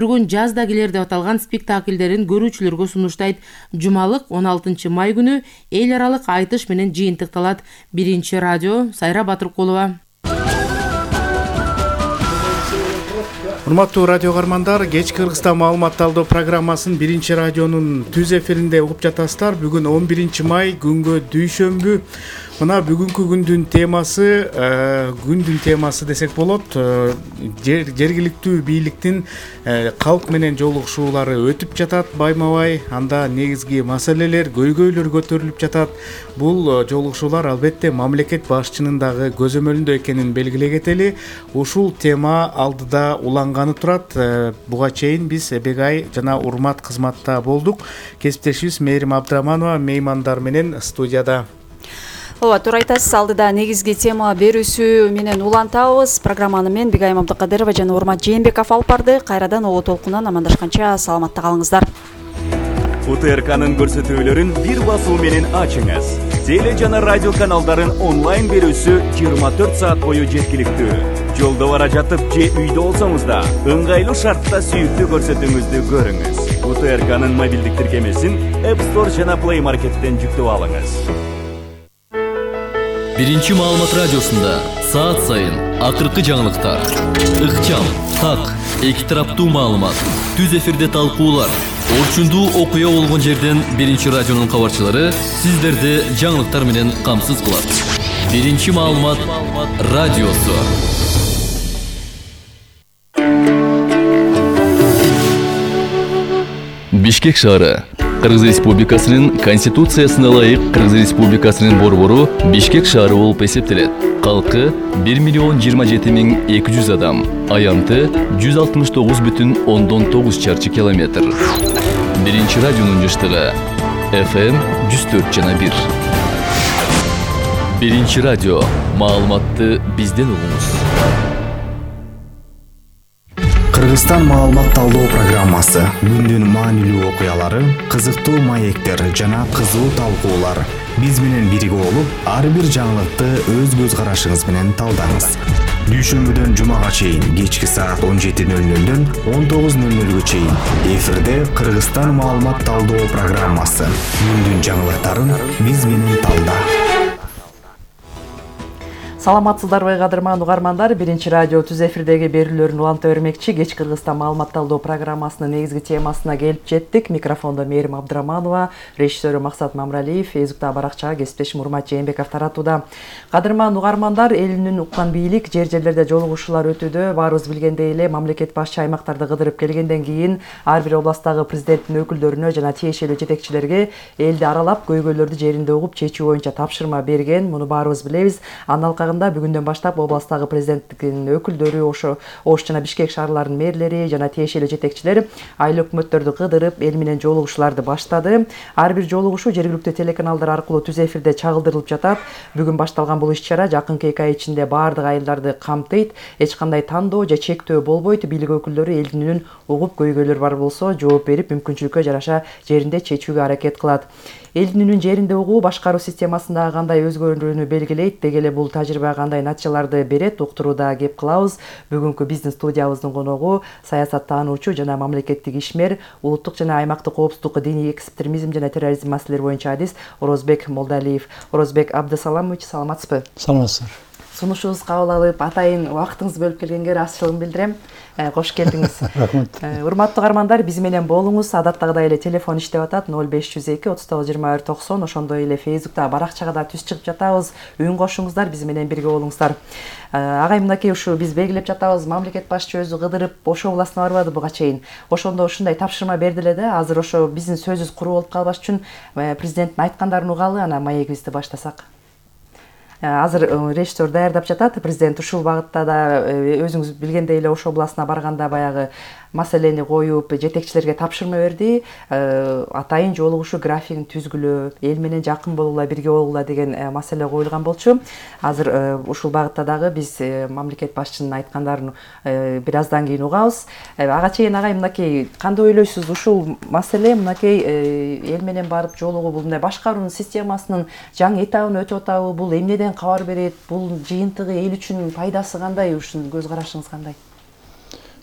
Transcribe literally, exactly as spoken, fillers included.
Бүгүн жаздагилер деп аталган спектакльдерин көрүүчүлөргө сунуштайт. Жумалык он алтынчы май күнү эл аралык айтыш менен жыйынтыкталат. Биринчи радио, Сайра Батыркулова. Урматтуу радио каармандар, кеч Кыргызстан маалымат талдоо программасын биринчи радионун түз эфиринде угуп жатасыздар. Бүгүн он биринчи май, күнгө дүйшөмбү. Мына бүгүнкү күндүн темасы, күндүн темасы десек болот. Жергиликтүү бийликтин калк менен жолугушуулары өтүп жатат байма-бай. Анда негизги маселелер, көйгөйлөр көтөрүлүп жатат. Бул жолугушуулар албетте мамлекет башчынын дагы көзөмөлүндө экенин белгилей кетели. Ушул тема алдыда уланганы турат. Буга чейин биз Эбегай жана Урмат кызматта болдук. Кесиптешибиз Мээрим Абдыраманова меймандар менен студияда. Ооба, туура айтасыз. Алдыда негизги тема берүүсү менен улантабыз. Программаны мен Бигайым Абдыкадырова жана Урмат Жээнбеков алып барды. Кайрадан Оо толкунан амандашканча саламатта калыңыздар. У Т Р К'нын көрсөтүүлөрүн бир басуу менен ачыңыз. Теле жана радио каналдарын онлайн берүүсү жыйырма төрт саат бою жеткиликтүү. Жолдо бара жатып же үйдө болсоңуз да ыңгайлуу шартта сүйүктүү көрсөтүүңүздү көрүңүз. У Т Р К'нын мобилдик тиркемесин App Store жана Play Market'тен жүктөп алыңыз. Биринчи маалымат радиосунда саат сайын акыркы жаңылыктар, ыкчам, так, эки тараптуу маалымат, түз эфирде талкуулар, орчундуу окуя болгон жерден биринчи радионун кабарчылары сиздерди жаңылыктар менен камсыз кылат. Биринчи маалымат радиосу. Бишкек шаары Кыргыз Республикасынын Конституциясына ылайык Кыргыз Республикасынын борбору Бишкек шаары болуп эсептелет. Калкы бир миллион жыйырма жети миң эки жүз адам, аянты жүз алтымыш тогуз бүтүн ондон тогуз чарчы километр. Биринчи радионун жыштыгы эф эм жүз төрт жана бир. Биринчи радио, маалыматты бизден угуңуз. Кыргызстан маалымат талдоо программасы, күндүн маанилүү окуялары, кызыктуу маектер жана кызуу талкуулар. Биз менен бирге болуп, ар бир жаңылыкты өз көз карашыңыз менен талдаңыз. Дүйшөмбүдөн жумага чейин кечки саат он жети нөл нөлдөн он тогуз нөл нөлгө чейин эфирде Кыргызстан маалымат талдоо программасы. Күндүн жаңылыктарын биз менен талда. Саламатсыздарбы кадырман угармандар, биринчи радио түз эфирдеги берүүлөрүн уланта бермекчи. Кеч Кыргызстан маалымат талдоо программасынын негизги темасына келип жеттик. Микрофондо Мээрим Абдыраманова, режиссеру Максат Мамралиев, Фейсбуктагы баракчага кесиптешим Урмат Жээнбеков таратууда. Кадырман угармандар, элинин уккан бийлик жер-жерлерде жолугушуулар өтүүдө. Баарыбыз билгендей эле, мамлекет башчы аймактарды кыдырып келгенден кийин ар бир областтагы президенттин өкүлдөрүнө жана тиешелүү жетекчилерге элди аралап, көйгөйлөрдү жеринде угуп чечүү боюнча тапшырма берген. Муну баарыбыз билебиз. Андан бүгүндөн баштап областтагы президенттин өкүлдөрү, ошо Ош жана Бишкек шаарларынын мэрлери жана тиешелүү жетекчилер айыл өкмөттөрдү кыдырып, эл менен жолугушууларды баштады. Ар бир жолугушуу жергиликтүү телеканалдар аркылуу түз эфирде чагылдырылып жатат. Бүгүн башталган бул иш-чара жакынкы эки ай ичинде баардык айылдарды камтыйт. Эч кандай тандоо же чектөө болбойт. Бийлик өкүлдөрү элдин үнүн угуп, көйгөйлөр бар болсо жооп берип, мүмкүнчүлүккө жараша жеринде чечүүгө аракет кылат. Элдин үнүн жеринде угуу башкаруу системасындагы кандай өзгөрүүнү белгилейт, деги эле бул тажрыйба кандай натыйжаларды берет, уктурууда кеп кылабыз. Бүгүнкү биздин студиябыздын коногу саясаттануучу жана мамлекеттик ишмер, улуттук жана аймактык коопсуздук, диний экстремизм жана терроризм маселелери боюнча адис Орозбек Молдалиев. Орозбек Абдысаламович, саламатсызбы? Саламатсыздар. Сунушубузду кабыл алып, атайын убактыңызды бөлүп келгенге ыраазычылыгымды билдирем. Кош келдиңиз. Рахмат. Урматтуу каармандар, биз менен болуңуз. Адаттагыдай эле телефон иштеп атат ноль беш жүз эки отуз тогуз жыйырма бир токсон. Ошондой эле Фейсбуктагы баракчага да түз чыгып жатабыз. Үн кошуңуздар, биз менен бирге болуңуздар. Агай, мынакей ушу биз белгилеп жатабыз, мамлекет башчы өзү кыдырып, Ош областына барбады буга чейин. Ошондо ушундай тапшырма берди эле да. Азыр ошо биздин сөзүбүз куру болуп калбаш үчүн президенттин айткандарын угалы, анан маегибизди баштасак. Азыр речтор даярдап жатат. Президент ушул багытта да өзүңүз билгендей эле Ош областына барганда баягы маселени коюп, жетекчилерге тапшырма берди. Атайын жолугушуу графигин түзгүлө, эл менен жакын болугула, бирге болугула деген маселе коюлган болчу. Азыр ушул багытта дагы биз мамлекет башчынын айткандарын бир аздан кийин угабыз. Ага чейин агай, мынакей кандай ойлойсуз, ушул маселе мынакей эл менен барып жолугуу, бул мындай башкаруунун системасынын жаңы этабын өтүп атабы, бул эмнеден кабар берет, бул жыйынтыгы эл үчүн пайдасы кандай, ушунун көз карашыңыз кандай?